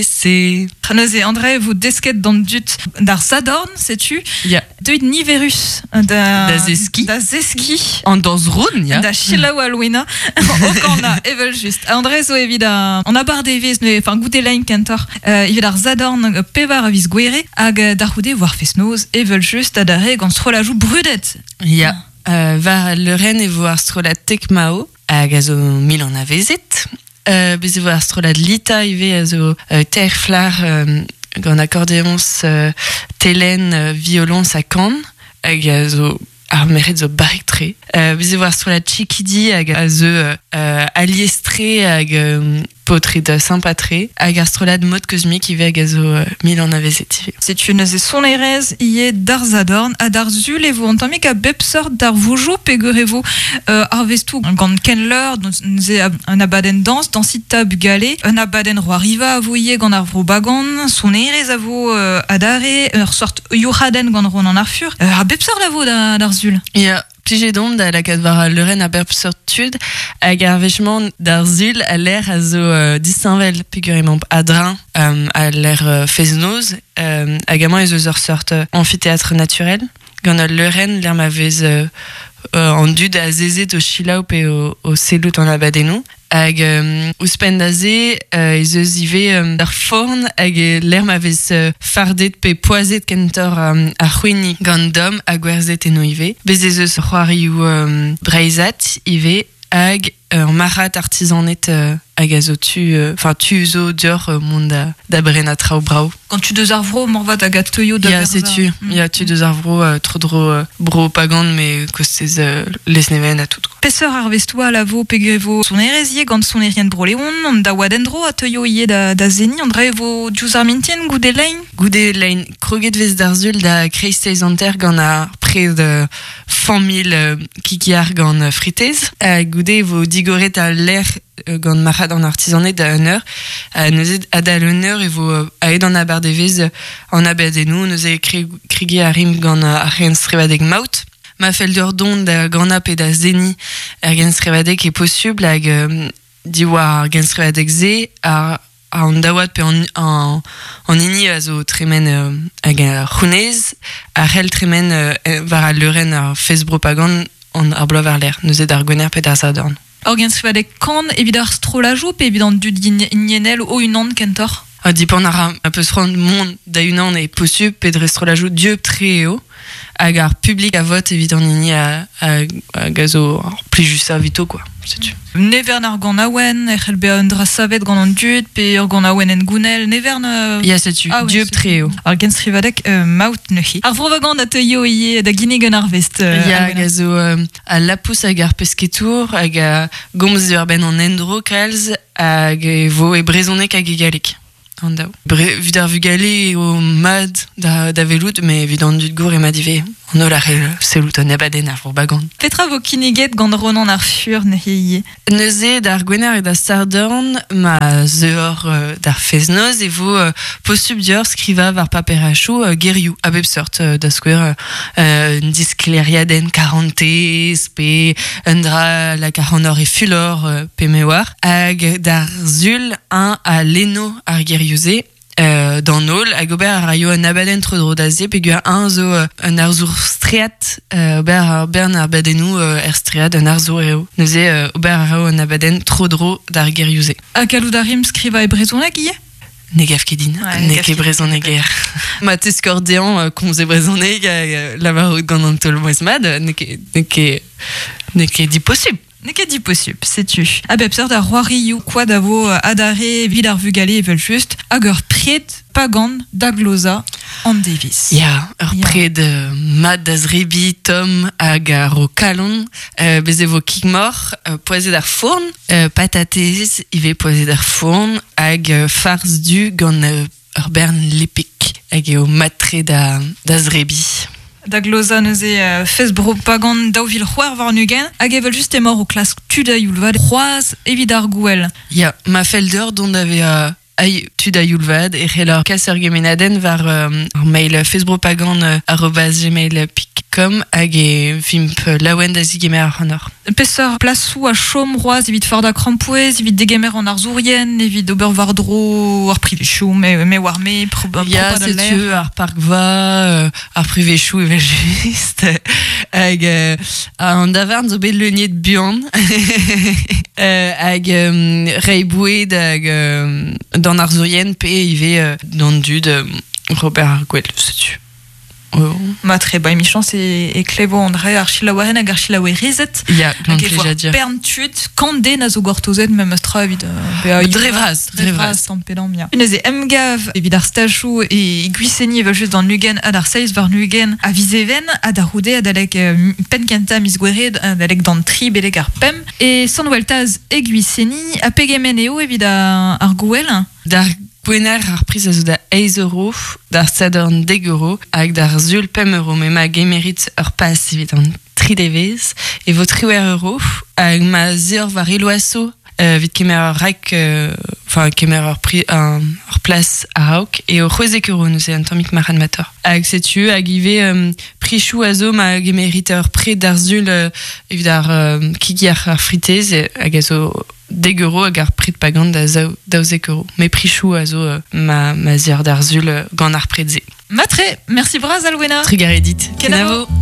C. Neuze, André, vo desket d'an dud d'ar Sadorn, setu. Ya. Deuit niverus da, Da zeski. Da zeski. An dañs-roun, ya. Da selaou Alwena o kana, evel just. André zo evit a, an abardaevezh, neuze, enfin goude lein kentoc'h, evit ar Sadorn pevar a viz Gouere, hag da c'houde war fest-noz, evel just, adarre gant strollajoù brudet. Ya. War al leurenn e vo ar strollad Tekmao, hag a zo mil anavezet. Bez e vo ar strollad Lita ivez a zo teir flac'h gant akordeoñs, telenn, violoñs ha kan, hag a zo ar merc'hed zo barrek-tre. Bez e vo ar strollad Chikidi hag a zeu alies-tre hag paotred sympa-tre, hag ar strollad Mod Cosmic ivez hag a zo mil anavezet ivez. Setu neuze sonerezh ivez d'ar Sadorn ha d'ar Sul e vo un tammig a bep seurt darvoudoù peogwir e vo arvestoù gant Kenleur, neuze un abadenn dañs, dañsita bugale, un abadenn c'hoariva a vo ivez gant ar Vro Bagan, sonerezh a vo adarre, ur seurt youc'hadenn gant Ronan ar Fur. A bep seurt a vo d'ar Sul. Ya, plijet on da lakaat war al leurenn a bep seurt tud hag ar wech-mañ d'ar Sul al lec'h a zo disheñvel peogwir emaomp a-dreñv al lec'h fest-noz hag amañ ez eus ur seurt amfiteatr naturel gant ul leurenn lec'h ma vez an dud azezet o selaou pe o sellout an abadennoù. Hag ouzhpenn da se ez eus ivez ur forn hag lec'h ma vez fardet pe poazhet kentoc'h ar c'hwini gant domm ha gwerzhet eno ivez. Bez' ez eus c'hoarioù breizhat ivez hag ur marc'had artizaned hag a zo tu, enfin tu zo deoc'h mont da brenañ traoù brav. Gant tud eus ar vro, moarvat hag a teuio da Ya, setu. Ya, tud eus ar vro, tro-dro bro Pagan, met kostez Lesneven ha tout. Peseurt arvestoù all a vo peogwir e vo sonerezh ivez gant sonerien Bro-Leon, an daouad en-dro a teuio ivez da seniñ, an dra e vo diouzh ar mintin goude lein? Goude lein, kroget 'vez d'ar sul da kreisteiz hanter gant ar pred familh kikiar gant fritez. Goude e vo digoret al lec'h gant marc'had an artizaned da un eur. Neuze adal un eur e vo aet an abardaevezh an abadennoù. Neuze kregiñ a rimp gant ar c'henstrivadeg maout. Ma fell deoc'h dont da ganañ pe da seniñ er genstrivadeg eo posubl hag diwar ar genstrivadeg-se ar an daouad pe an, an, an hini a zo tremen hag ar c'hounez a c'hell tremen war al leurenn ar fest-propagand an ar bloaz war-lerc'h, neuze d'ar Gwener pe d'ar Sadorn. Ur genstrivadeg kan evit ar strollajoù pe evit an dud hiniennel o-unan kentoc'h? Ha dipant a ra ma peus c'hoant mont da-unan eo posubl pe dre strollajoù dieub-tre eo hag ar publik a vot evit an hini hag a zo ar plijusañ evito quoi, setu. Nevern ar ganaouenn e c'hell bezañ un dra savet gant an dud pe ur ganaouenn hengounel, nevern... Ya, setu, ah, dieub-tre eo. Ar genstrivadeg maout neuze. Ar Vro-Vagan a teuio ivez da ginnig un arvest. Ya, hag a zo al lapous hag ar pesketour hag a gomz diwar-benn an endro kalz hag e vo e brezhoneg hag e galleg an daou. Evit ar vugale eo mat da welout, met evit an dud gour eo mat ivez. An holl a c'hell sellout un abadenn ar Vro Bagan. Petra vo kinniget gant Ronan ar Fur neuze ivez? Neuze d'ar Gwener e da Sadorn ma zeuoc'h d'ar fest-noz e vo posubl deoc'h skrivañ war paperachoù gerioù a bep seurt. Da skouer un disklêriadenn karantez pe un dra lak ac'hanoc'h e fulor pe me oar. Hag d'ar Sul eñ a lenno ar gerioù-se d'an holl hag ober a raio un abadenn tro-dro da se peogwir eñ zo un arzour streat ober ar bern abadennoù er streat un arzour eo neuze ober a raio un abadenn tro-dro d'ar gerioù-se. Ha gallout a rimp skrivañ e brezhoneg ivez? Ne gav ket din, n'eo ket brezhoneger. Ma teskor dezhañ komz e brezhoneg hag lavarout gant an taol-mouezh mat, n'eo ket, n'eo ket, n'eo ket diposubl. N'eo ket diposubl, setu. A bep seurt a c'hoarioù koad a vo adarre evit ar vugale evel-just, hag ur pred pagan da glozañ an devezh. Ya, ur pred mat da zrebiñ tomm hag a ro kalon. Bez' e vo kig-moc'h poazhet ar fourn, patatez ivez poazhet ar fourn, hag farz du gant ur bern lepik hag eo mat-tre da, da zrebiñ. Da glozañ neuze fest bro-pagan 2026 hag evel-just emaoc'h o klask tud a-youl vat c'hoazh evit ar gouel. Ya, ma fell deoc'h dont da vezañ tud a-youl vat e c'helloc'h kas ur gemennadenn war ar mail festbropagan@gmail.com. gmail.com hag e vimp laouen da zigemer ac'hanoc'h. Peseurt plasoù a chom c'hoazh evit fardañ krampouezh, evit degemer an arzourien, evit ober war-dro ar privezioù, me, me war me, Ya, propat al lec'h. setu ar parkva, ar privezioù evel-just, hag an davarn zo bet leuniet buan, hag reiñ boued hag d'an arzourien pe ivez d'an dud Robert ar Gwel, setu. Oh. Matre, ba emichañs e, e klevo an re ar chilaoueren hag ar chilaouerezed. Ya, gant Hag e vo ar plijadur. bern tud, kant den a zo gortozet memes tra evit bezañ Dre vras, dre vras. tamm pe damm, ya. Neuze emgav evit ar stajoù e Gwiseni evel just d'an 20 ha d'ar 7 warn-ugent a viz Even ha da c'houde adalek penn kentañ miz Gouere adalek d'an tri betek ar pemp. E Sant-Weltaz e Gwiseni ha pegement eo evit ar gouel? D'ar Gwener ar priz a zo da 8 euro, d'ar Sadorn 10 euro hag d'ar Sul 5 euro. Met ma gemerit ur pas evit an tri devezh e vo 18 euro hag ma 'z eor war Eloaso evit kemer ur rak, enfin kemer ur pri, ur plas a-raok eo 16 euro neuze un tammig marc'hadmatoc'h. Hag setu hag ivez prichoù a zo ma gemerit ur pred d'ar Sul evit ar kig ar fritez hag a zo dek euro hag ar pred pagan da 12 euro. Met prichoù a zo ma, ma 'z eor d'ar Sul gant ar pred-se. Matre, merci bras Alwena. Trugarez dit. Kenavo. Kenavo.